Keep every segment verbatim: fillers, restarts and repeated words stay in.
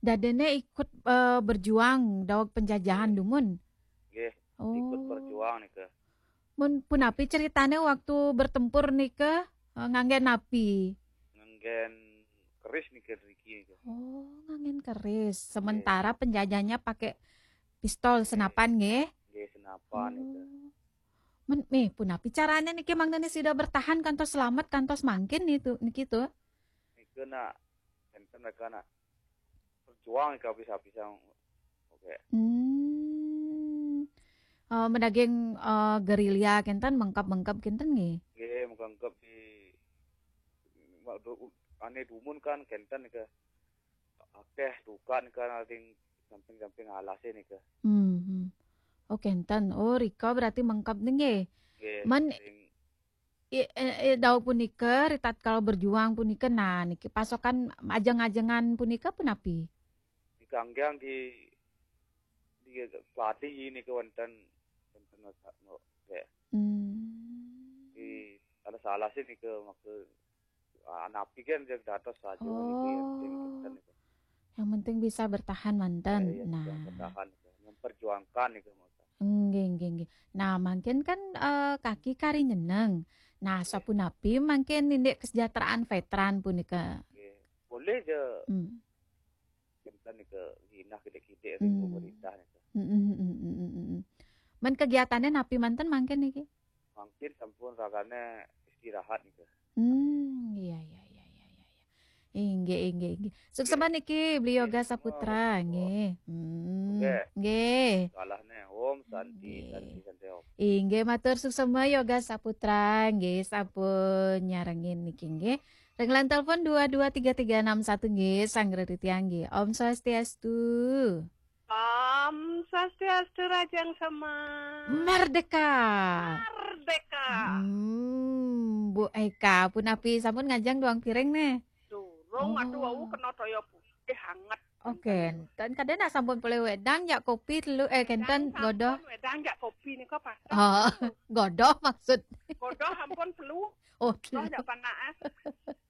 Dadene ikut, eh, berjuang daweg penjajahan dumun. Nggih, ikut berjuang nika. Mun punapi ceritane waktu bertempur nika, eh, ngangge napi? Nganggen keris nika driki nika. Oh, nganggen keris. Sementara penjajahnya pakai pistol senapan nggih. Nggih, senapan nika. Oh. Men, mih, punapi carane niki mangdane sida bertahan kantos selamat kantos mangkin nitu, niki tu? Nika nak, enten mereka nak berjuang nika habis-habisan. Oke. Hmm. Eh, medaging, eh, gerilya kenten, mengkep-mengkep kenten nggih? Nggih, mengkep di, ane dumun kan kenten nika. Akeh duka nika ning samping-samping alase nika. Hmm, hmm. Oh, kenten. Oh, rika berarti mengkep nggih. Nggih, men sing i-, eh, eh, daweg punika, ritatkala berjuang punika, nah, niki pasokan ajeng-ajengan punika punapi? Nika anggiang di, di keladi nika wonten, wonten no, no, ya. Hmm. Di salah-salah sih nika maka, ah, napi kan dia dados saja niki yang penting Oh. Kenten nika. Yang penting bisa bertahan manten. Ya, ya, nah. Bertahan nika, memperjuangkan nika maka. Nggih, nggih, nggih. Nah, mangkin kan, eh, kaki kari nyeneng. Nah, sapunapi mangkin indik kesejahteraan veteran punika? Nggih. Boleh je Hmm. kenten nika ginah kidik-kidik ring Hmm. pemerintah nika. Mm, mm, mm, mm, mm, mm. Men kegiatannya napi manten mangkin niki? Mangkin sampun ragane istirahat nika. Hmm, iya, iya, iya, iya, iya, iya. Inggih, inggih, inggih. Suksma niki, Beli Yoga Saputra, nggih. Hmm, nggih. Salahne, Om Santi, Nggih. Santi, Santi, Om. Inggih, matur suksma Yoga Saputra, nggih, sampun nyarengin niki, nggih. Ring line telepon dua dua tiga tiga enam satu, nggih, sanggra titiang, nggih. Om Swastiastu. Om Swastiastu, Rajang Sema. Merdeka. Merdeka. Hmm, Bu Eka, punapi sampun ngajeng duang piring nih? Durung, aduh, Oh. Wau kena toya putih hangat. Oh, kenten. Kadang nak sampun polih wedang, jak kopi telu, eh, kenten, Wedang godoh. Sampun, wedang jak kopi nika pas. Oh, godoh maksud. Godoh ampun telu. Oh, telu. Godoh jak panas.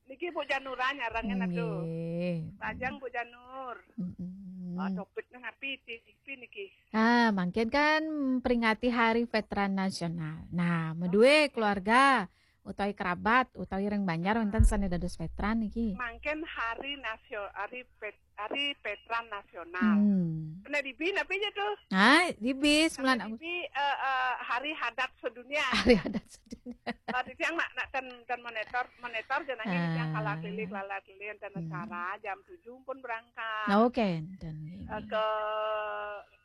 Niki Bu Janura nyarengin atuh. Nggih. Lajeng Bu Janur. Mm-mm. Ah, topiknya napi, ti-, tipi niki? Ah, mangkin kan peringati Hari Veteran Nasional. Nah, medue keluarga utawi kerabat utawi ring Banjar wonten sane dados veteran niki. Mangkin hari nasio-, hari pet-, hari veteran nasional. Hmm. Kena dibi napi aja tuh? Ah, dibi sembilan Kena Agustus. Dibi, eh, eh, hari hadat sedunia. Hari hadat sedunia. Eh, titiang nak, nak ten, ten monitor, monitor jenenge titiang Ah. Kala keliling, kala keliling, ten Hmm. acara jam tujuh pun berangkat. Oke, ten. Eh, ke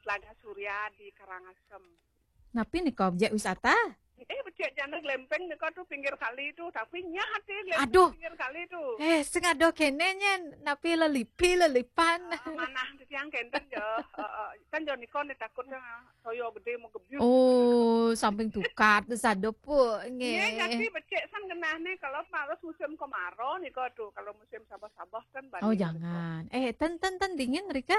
Telaga Surya di Karangasem. Napi nika objek wisata? Eh, becik jana glempeng nika tuh pinggir kali tuh, tapi nyah ati glempeng Aduh. Pinggir kali tuh. Eh, sing ada kene nyen, napi lelipi, lelipan. Ah, manah titiang kenten ya. Heeh. Kan ya nika nih takutnya toya gede mau gebyus. Oh, samping tukar tuh sadopo, nggih. Nggih, jadi becik san genahne kalau harus musim kemarau nika tuh. Kalau musim sabah-sabah kan Oh, banjir nika. Jangan. Eh, ten, ten, ten dingin, Rika?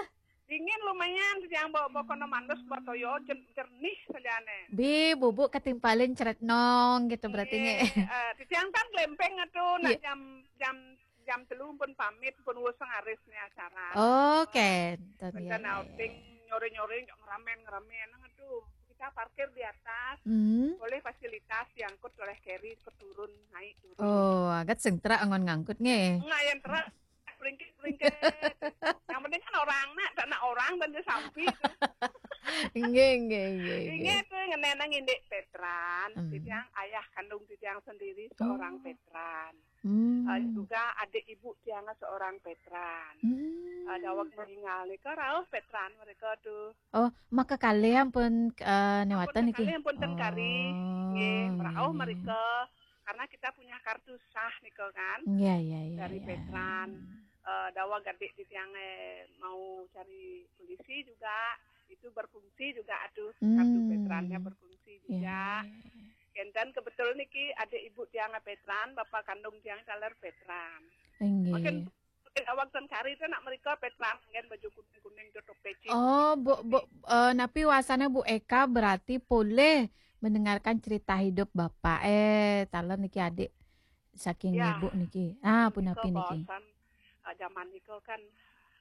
Dingin lumayan, titiang bawa, bawa kono mandus, bawa toya, jer-, jernih sajane. Bi, bubuk ketimpalin ceretnong gitu berarti, nggih. Nggih, eh, titiang kan glempeng atuh, nak Iya. jam, jam, jam telu pun pamit, pun wus ngaris nih acara. Oke, ten, Benten ya, ya, outing, ya. Nyore-nyore, nggak ngeramen-ngeramen, aduh. Kita parkir di atas, Hmm. Boleh fasilitas diangkut oleh carry, ke turun, naik turun. Oh, agat sing terak angon ngangkut, nggih. Enggak, yang terak, peringkit-peringkit. Yang penting kan orang nak, tak nak orang dan dia sampi. Nggih, nggih, nggih, Ingat nggih. Tuh, ngenenang indik veteran, Hmm. Titiang ayah kandung titiang sendiri seorang Oh. Veteran. Hmm. Eh, juga adik ibu tiang seorang veteran. Hmm. Eh, daweg meninggal nika rauh veteran mereka tuh. Oh, maka kalih ampun, eh, Ampun newatan niki. Kalih ampun ten kari. Oh, nggih, nggih, rauh nggih. Mereka karena kita punya kartu sah nika kan. Iya, iya, iya, dari iya. Veteran. Eh, daweg adik titiang, eh, mau cari polisi juga, itu berfungsi juga atuh kartu Hmm. Veterannya berfungsi juga. Iya, iya, iya. Kenten kebetulan niki adik ibu tiang veteran, bapak kandung tiang taler veteran. Inggih. Makin, makin awak ten kari itu nak mereka veteran, kan baju kuning-kuning tutup peci. Oh, Bu, Bu, eh, napi wasana Bu Eka berarti poleh mendengarkan cerita hidup Bapak. Eh, taler niki adik saking Ya. Ibu niki. Ah, punapi niki. Bahasan, eh, zaman itu kan